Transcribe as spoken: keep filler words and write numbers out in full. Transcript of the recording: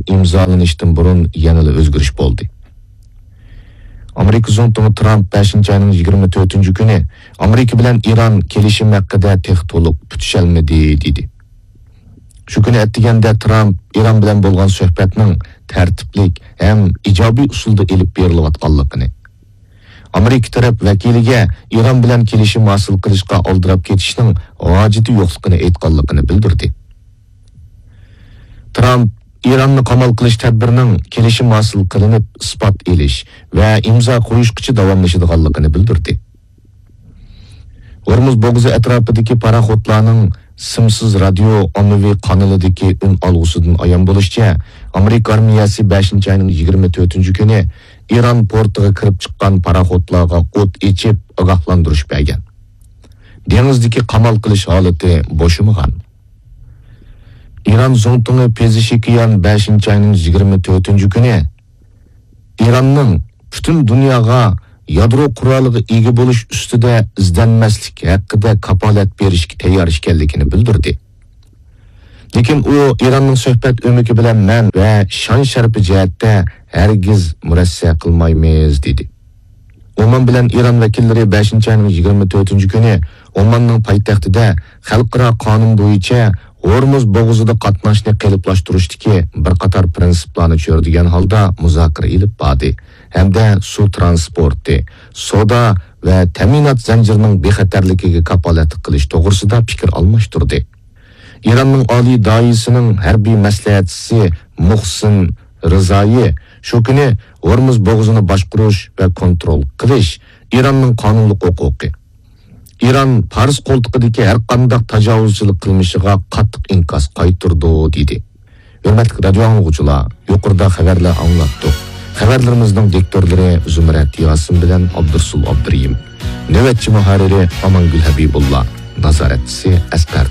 ئىمزالىنىشتىن بۇرۇن يەنىلا ئۆزگىرىش بولدى. ئامېرىكا زۇڭتۇڭى ترامپ بەشىنچى ئاينىڭ يىگىرمە تۆتىنچى كۈنى ئامېرىكا بىلەن ئىران كېلىشىم ھەققىدە تېخى تولۇق پۈتۈشەلمىدى، دېدى. شۇ كۈنى ئەتىگەندە ترامپ ئىران بىلەن بولغان سۆھبەتنىڭ تەرتىپلىك ھەم ئىجابىي ئۇسۇلدا ئېلىپ بېرىلىۋاتقانلىقىنى، ئامېرىكا تەرەپ ۋەكىلىگە ئىران بىلەن كېلىشىم ھاسىل قىلىشقا ئالدىراپ كېتىشنىڭ ھاجىتى يوقلۇقىنى ئېيتقانلىقىنى بىلدۈردى. ترامپ ئىراننى قامال قىلىش تەدبىرىنىڭ كېلىشىم ھاسىل قىلىنىپ ئىسپات ئېلىش ۋە ئىمزا قويۇشقىچە داۋاملىشىدىغانلىقىنى بىلدۈردى. ھورمۇز بوغۇزى ئەتراپىدىكى پاراخوتلارنىڭ سىمسىز رادىيو ئاممىۋى قانىلىدىكى ئۈن ئالغۇسىدىن ئايان بولۇشىچە، ئامېرىكا ئارمىيەسى بەشىنچى ئاينىڭ يىگىرمە تۆتىنچى كۈنى ئىران پورتىغا كىرىپ چىققان پاراخوتلارغا ئوت ئېچىپ ئاگاھلاندۇرۇش بەرگەن. دېڭىزدىكى قامال قىلىش ھالىتى بوشىمىغان. ئىران زۇڭتۇڭى پېزىشكىيان بەشىنچى ئاينىڭ يىگىرمە تۆتىنچى كۈنى ئىراننىڭ پۈتۈن دۇنياغا يادرو قورالىغا ئىگە بولۇش ئۈستىدە ئىزدەنمەسلىك ھەققىدە كاپالەت بېرىشكە تەييار ئىكەنلىكىنى بىلدۈردى. لېكىن ئۇ ئىراننىڭ سۆھبەت ئۆمىكى بىلەن مەن ۋە شان شەرىپى جەھەتتە ھەرگىز مۇرەسسە قىلمايمىز، دېدى. ئومان بىلەن ئىران ۋەكىللىرى بەشىنچى ئاينىڭ يىگىرمە تۆتىنچى كۈنى ئوماننىڭ پايتەختىدە خەلقئارا قانۇن بويىچە ھورمۇز بوغۇزىدا قاتناشنى قېلىپلاشتۇرۇشتىكى بىر قاتار پىرىنسىپلارنى چۆرىدىگەن ھالدا مۇزاكىرە ئېلىپ باردى ھەمدە سۇ ترانسپورتى، سودا ۋە تەمىنات زەنجىرىنىڭ بىخەتەرلىكىگە كاپالەتلىك قىلىش توغرىسىدا پىكىر ئالماشتۇردى. ئىراننىڭ ئالىي دائىرىسىنىڭ ھەربىي مەسلىھەتچىسى مۇھسىن رىزايى شۇ كۈنى ھورمۇز بوغۇزىنى باشقۇرۇش ۋە كونترول قىلىش ئىراننىڭ قانۇنلۇق ھوقۇقى. ئىران پارس قولتۇقىدىكى ھەرقانداق تاجاۋۇزچىلىق قىلمىشىغا قاتتىق ئىنكاس قايتۇرىدۇ، دېدى. ھۆرمەتلىك رادىيو ئاڭلىغۇچىلار، يۇقىرىدا خەۋەرلەر ئاڭلاتتۇق. خەۋەرلىرىمىزنىڭ دىكتورلىرى زۇمرەت ياسىن بىلەن ئابدۇرسۇل ئابدۇرېھىم. نۆۋەتچى مۇھەررىرى ئامانگۈل ھەبىبۇللا. نازارەتچىسى ئەسقەر